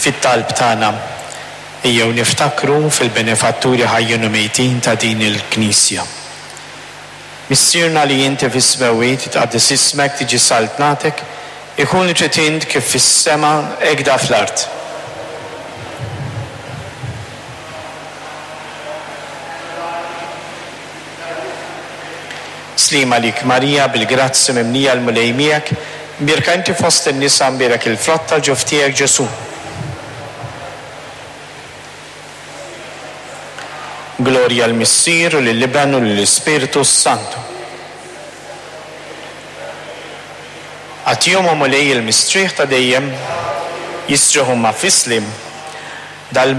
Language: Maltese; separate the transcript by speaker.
Speaker 1: Fit-talb tagħna ejjew niftakru fil-benefatturi ħajjin u mejtin ta' din il-Knisja. Missierna li inti fis-smewwiet, jitqaddes ismek, tiġi saltnatek, ikun li trid int kif fis-sema hekda fl-art. Sliem għalik Marija, bil-grazzja mimlija l-Mulej miegħek, mbierka inti fost in-nisa mbierek il-frott tal-ġuf tiegħek Ġesù. Glorja l-Missier u lill-Iben u lill-Ispirtu s-Santu. Agħtihom o Mulej il-mistrieħ ta' dejjem, jistrieħu huma fis-sliem. Dal.